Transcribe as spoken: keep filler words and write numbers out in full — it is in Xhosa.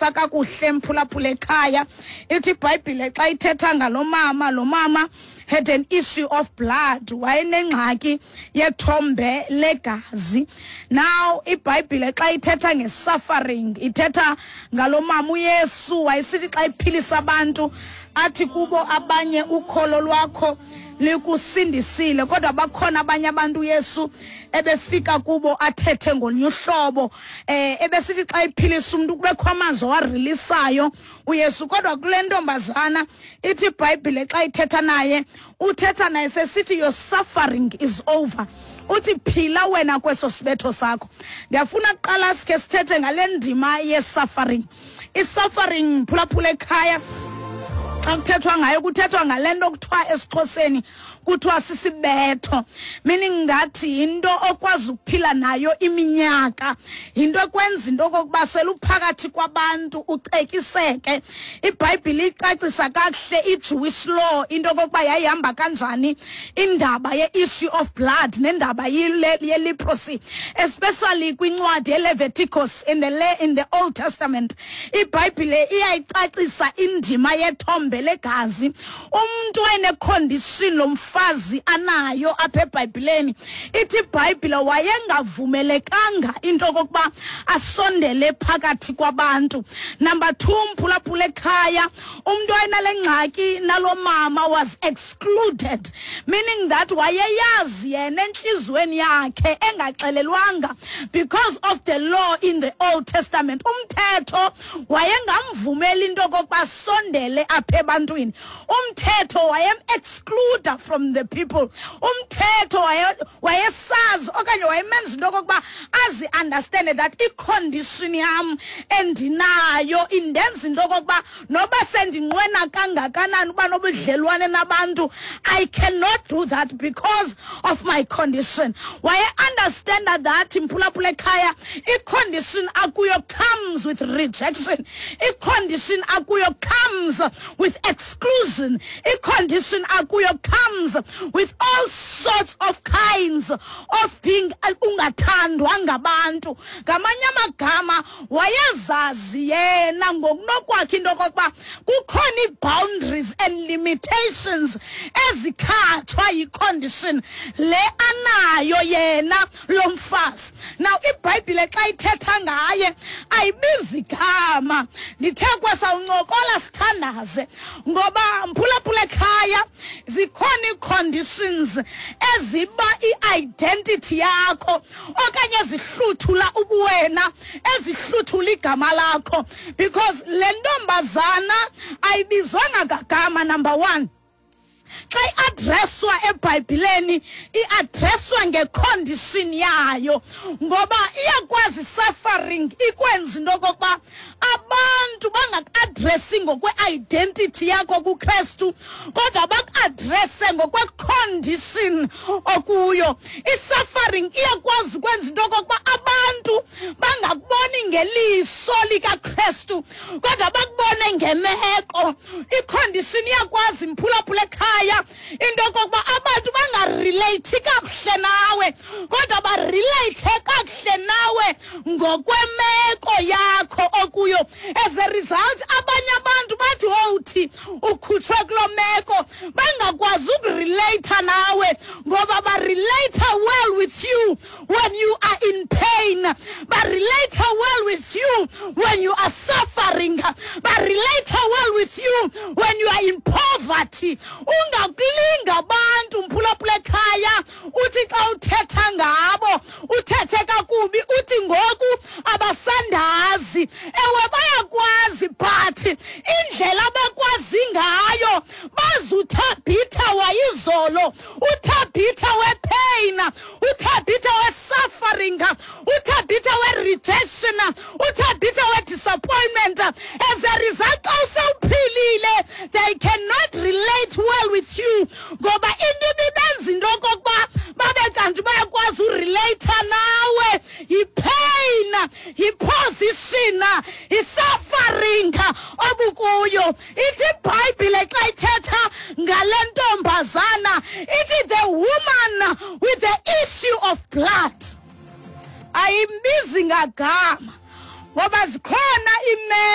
Ndiyicacisa kakuhle, mphulaphula ekhaya. Ithi iBhayibhile xa ithetha ngalo mama, lo mama had an issue of blood, wayenengxaki yethombe legazi. Now iBhayibhile xa ithetha nge-suffering, ithetha ngalo mama. UYesu wayesithi xa iphilisa abantu athi kubo abanye, "Ukholo lwakho likusindisile," kodwa bakhona abanye abantu uYesu ebefika kubo athethe ngolunye uhlobo. eh ebesithi xa iphilisa umuntu kubekho amazwi awarilisayo uYesu. Kodwa kule ntombazana, ithi iBhayibhile xa ithetha naye, uthetha naye sesithi, "Your suffering is over." Uthi, "Phila wena kweso sibetho sakho." Ndiyafuna kuqala sikhe sithethe ngale ndima ye-suffering. I-suffering, phulaphula ekhaya, xa kuthethwa ngayo kuthethwa ngale nto kuthiwa esiXhoseni kuthiwa sisibetho, meaning ngathi yinto okwazi ukuphila nayo iminyaka, yinto ekwenza into okokuba seluphakathi kwabantu ucekiseke. IBhayibhile icacisa kakuhle i-Jewish law, into okokuba yayihamba kanjani indaba ye-issue of blood nendaba ye-leprosy, especially kwincwadi yeLeviticus in the, in the Old Testament. IBhayibhile iyayicacisa indima yethombe legazi. Umntu wayenecondition lo mfazi anayo apha eBhayibhileni, ithi iBhayibhile wayengavumelekanga into okokuba asondele phakathi kwabantu. Number two, mphulaphula ekhaya, umntu wayenale ngxaki nalo mama was excluded, meaning that wayeyazi yena entliziyweni yakhe engaxelelwanga because of the law in the Old Testament. Umthetho wayengamvumeli into okokuba asondele apha ebantwini. Umthetho wayem-excluda from the people. Umthetho wayesazi okanye wayemenza into okokuba azi-understande that icondition yam endinayo indenza into okokuba noba sendinqwena kangakanani uba nobudlelwane nabantu, I cannot do that because of my condition. Waye-understanda that, mphulaphula ekhaya, icondition akuyo comes with rejection, icondition akuyo comes with exclusion, icondition akuyo comes with all sorts of kinds of being ungathandwa ngabantu. Ngamanye amagama, wayezazi yena ngokunokwakhe into okokuba kukhona ii-boundaries and limitations ezikhatshwa yicondition le anayo yena lo mfazi. Now iBhayibhile xa ithetha ngaye ayibizi gama. Ndithe kwesawuncokola sithandaze, ngoba, mphulaphula ekhaya, zikhona ii-conditions eziba i-identity yakho okanye ezihluthula ubuwena, ezihluthula igama lakho, because le ntombazana ayibizwanga ngagama. Number one, xa iaddresswa eBhayibhileni iaddresswa ngecondition yayo, ngoba iyakwazi suffering ikwenza into okokuba abantu bangakuaddressi ngokwe-identity yakho kuKristu, kodwa bakuaddresse ngokwecondition okuyo. I-suffering iyakwazi ukwenza into okokuba abantu bangakuboni ngeliso likaKristu, kodwa bakubone ngemeko. Icondition iyakwazi, mphulaphula ekhaya, into okokuba abantu bangarelate kakuhle nawe, kodwa barelate kakuhle nawe ngokwemeko yakho okuyo. As a result, abanye abantu bathi wowuthi ukhutshwe kuloo meko, bangakwazi ukurelata nawe, ngoba barelate well with you when you are in pain, barelate well with you when you are suffering, barelate well with you when you are in poverty. Ungakulinga abantu, mphulaphula ekhaya, uthi xa uthetha ngabo uthethe kakubi, uthi ngoku abasandazi. Ewe, bayakwazi, but indlela abakwazi ngayo bazi uThabitha wayizolo, uThabitha wepain, uThabitha we-suffering, uThabitha we-rejection, uThabitha we-disappointment. As a result, xa usewuphilile they cannot relate well with you, ngoba into ibibenza into okokuba babe kanti bayakwazi urelata nawe yipain, yiposition, yi-suffering obukuyo. Ithi iBhayibhile xa ithetha ngale ntombazana, ithi, "The woman with the issue of blood." Ayimbizi ngagama, ngoba zikhona imeko.